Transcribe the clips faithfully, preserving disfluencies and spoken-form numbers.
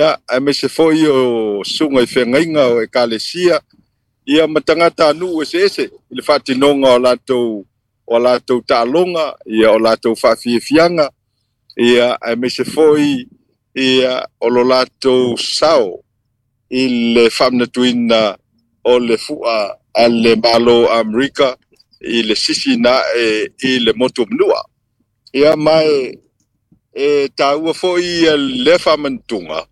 Aemaise foi o susuga i feagaiga o ekalesia ia ma tagatanuu eseese i le faatinoga o latou o latou taaloga ia o latou faafiafiaga ia aemaise foi ia o lo latou sao i le faamanatuina o le fua a le Malo o Amerika i le sisi na e i le motu o Manua. Ia ma e, e taua foi ia le faamanatuga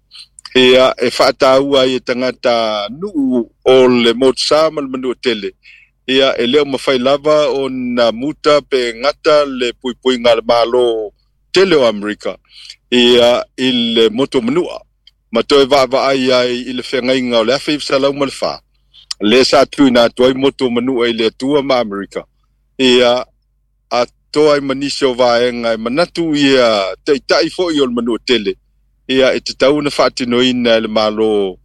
ia e faataua ai e tagatanuu o le motusa ma le Manua tele ia e le o mafai lava ona muta pe gata le puipuiga a le Malo tele o Amerika ia i le motu o Manua ma toe vaavaai ai i le feagaiga o le afe iva selau ma le fa le sa tuuina atu ai motu o Manua i le Atua ma Amerika ia atoa ai ma nisi o vaega e manatu ia taitai foi o le Manua tele ia e tatau ona faatinoina e le Malo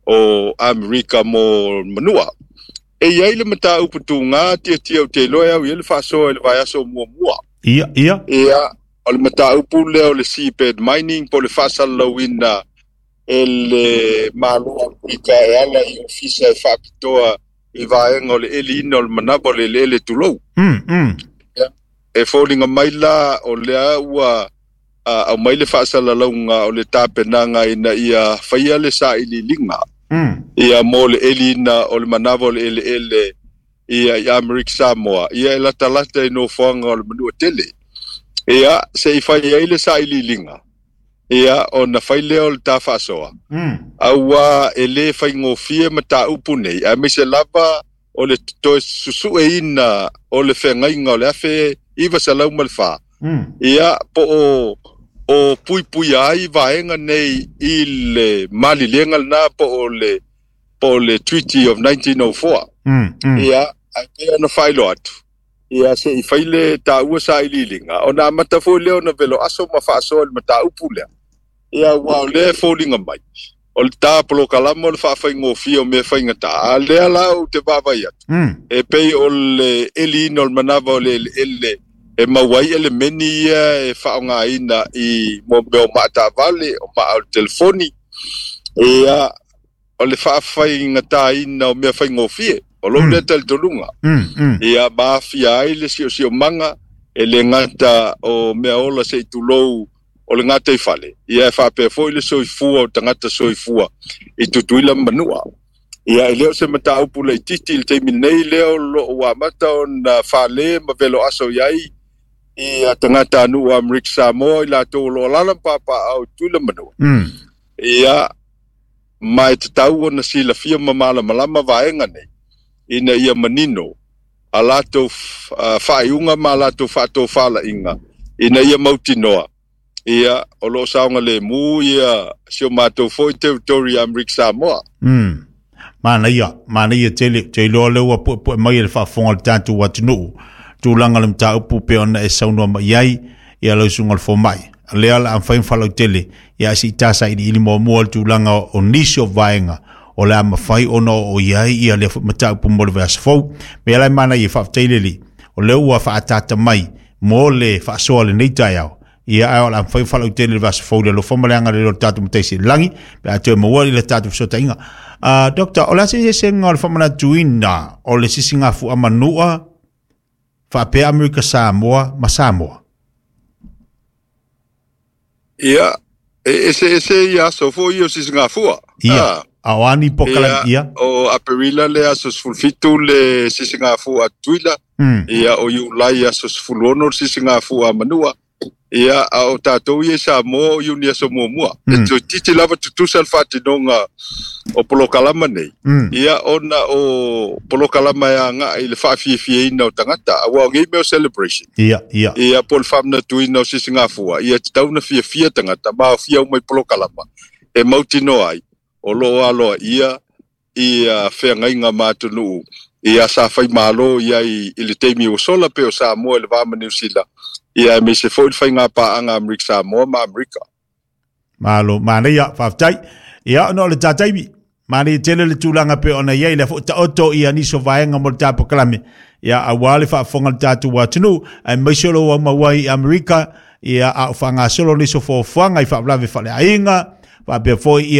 o Amerika mo Manua. E i ai le mataupu tuga tiatia ou te iloa e au i ai le faasoa i le vaiaso muamua. Ia, ia. Ia, o le mataupu lea o le seabed mining po o le faasalalauina e le Malo o Amerika e ala i ofisa e faapitoa i vaega o le eliina o le manava o le eleele tulou. Mm, mm. Ia, e foliga mai la o lea ua aumai le faasalalauga o le tapenaga ina ia faia le sailiiliga Mm. ia mo le eliina o le manava o le eleele ia i Amerika Samoa ia e latalata i nofoaga o le Manua tele. Ia se i fai ai le sailiiliga ia ona fai lea o le ta faasoa. Mm. Auā e lē faigofie mataupu nei aemaise lava o le toe susueina o le feagaiga o le afe iva selau ma le fa. Mm. Ia po o o puipuia ai vaega nei i le malilega lena po o le po o le Treaty of nineteen oh four. Mm, mm. Ia ae pei ona faailoa atu ia se i fai le taua sailiiliga ona amata foi lea ona velo aso ma faasoa i le mataupu lea. Ia ua o lea e foliga mai o le tā polokalama o le faafaigofie o mea faigata a lea la ou te vaavaai atu. Mm. E pei o le eliina o le manava o le eleele e maua ai elemeni ia e faaaogaina i mo mea o maataavale o maa o le telefoni ia o le faafaigataina o mea faigofie o lou Mm. lea talitonuga. Mm, mm. Ia maafia ai le siosiomaga e le gata o mea ola se i tulou o le gata i fale ia e faapea foi le soifua o tagata soifua i Tutuila ma Manua. Ia e le o se mataupu laitiiti i le taimi nei lea o loo ua amata ona fale ma velo aso i ai ia tagatanuu o Amerika Samoa i latou o loo alaala ma papaau i Tutuila ma Manua. Mm. Ia ma e tatau ona silafia ma malamalama vaega nei ina ia manino a latou faaiuga ma a latou faatofalaiga ina ia mautinoa ia o loo saogalemu ia si o matou foi territory Amerika Samoa. Mm. Manaia, manaia tele, te iloa lea ua puepue mai e le faafofoga o le tatou atunuu. Tulaga le mataupu pe ona e saunoa mai ai ia lau susuga o le fomai. Lea o le a mafai ona faalautele ia se i tasailiili muamua le tulaga o nisi o vaega o le a mafai ona oo i ai ia lea foi mataupu mo le vaiaso fou. Mea la e manaia faafetai le Alii o lea ua faaataata mai mo le faasoa lenei taeao. Ia ae o le a mafai ona faalautele le vaiaso fou i le alofa ma le agalelei o le tatou Mataisi i le lagi pe a toe maua i le tatou fesootaiga. Uh, Doctor, o le a se eseesega o le faamanatuina o le sisigafua manua faapea Amerika Samoa ma Samoa? Ia, e eseese ia aso foi ia o sisigafua. Ia, Ah, a o a ni polokalame, ia, ia. o Aperila le aso sefulufitu le sisigafua a Tutuila, Mm. ia o Iulai aso sefuluono le sisigafua a Manua, ia a o tatou ia i Samoa o Iuni aso muamua. E Mm. toeitiiti lava tutusa le faatinoga o polokalama nei. Mm. Ia ona o polokalama e aga'i i le faafiafiaina o tagata auā o nei mea o celebration. Ia, ia. Ia po o le faamanatuina o sisigafua ia tatau ona fiafia tagata ma aofia uma i polokalama e mautinoa ai o loo aloaia ia feagaiga ma atunuu ia sa faimalo ia i, i le taimi ua sola pe o Samoa i le va ma Niu Sila ia aemaise foi le faigapaaga Amerika Samoa ma Amerika. Malo, manaia, faafetai. Ia, ona o le tataimi, manaia tele le tulaga pe ona i ai lea foi taoto ia nisi o vaega mo le tapokalame. Ia, auā le faafofoga o le tatou atunuu, aemaise o lou aumau ai i Amerika, ia a o faagasolo nisi o fuafuaga i faalavelave faaleaiga, Faapea foi